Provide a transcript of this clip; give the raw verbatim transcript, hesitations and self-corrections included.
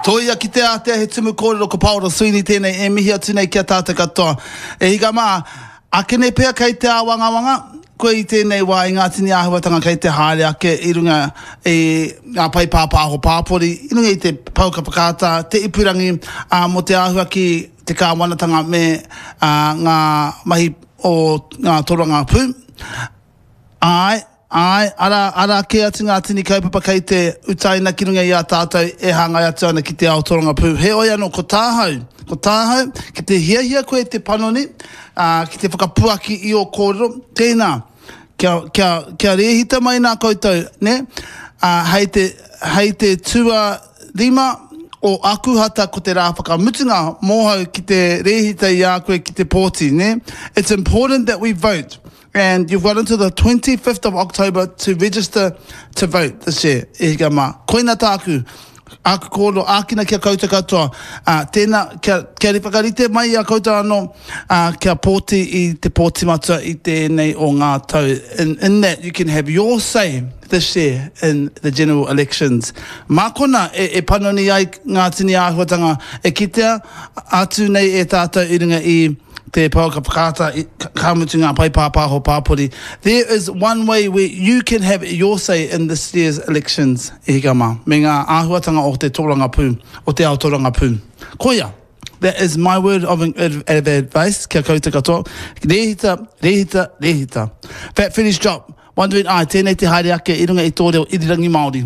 Tōia ki te ātea he tumu kōrero ko Paora Sweeney tēnei e mihi atu nei ki a tātou katoa. E hika mā, akene pea kei te āwangawanga, koe i tēnei wā i ngā tini āhuatanga kei te haere ake i runga i ngā pae pāpāho pāpori, i runga i te pouaka whakaata, te ipurangi, ā, mō te āhua ki te kāwanatanga me ā, ngā mahi o ngā torongapū. Āe, āe, arā, arā kē atu ngā tini kaupapa kei te utaina ki runga i a tātou e hāngai atu ana ki te ao torongapū. Heoi anō, ko tāhau, ko tāhau, ki te hiahia koe te panoni, ā, ki te whakapuaki i ō kōrero, tēnā, kia, kia, kia rēhita mai nā koutou, nē? Ā, hei te, hei te tuarima o Akuhata ko te rā whakamutunga mōhau ki te rēhita i a koe ki te pōti, nē? It's important that we vote. And you've got until the twenty-fifth of October to register to vote this year. E hika mā. Koina tāku, āku kōrero, ākina ki a koutou katoa. Ā, tēnā, kia, kia whakarite mai i a koutou anō, ā, kia pōti i te pōti matua i tēnei o ngā tau. In, in that, you can have your say this year in the general elections. Mā kona e, e panoni ai ngā tini āhuatanga e kitea atu nei e tātou i runga i te pouaka whakaata, ka mutu ngā pae pāpāho pāpori. There is one way where you can have your say in this year's elections, e hika mā, me ngā āhuatanga o te tōrangapū, o te ao tōrangapū. Koia, that is my word of, of advice kia koutou katoa. Rēhita, rēhita, rēhita. Fat Freddy's Drop, Wondering, ai, tēnei te haere ake i runga i tō reo irirangi Māori.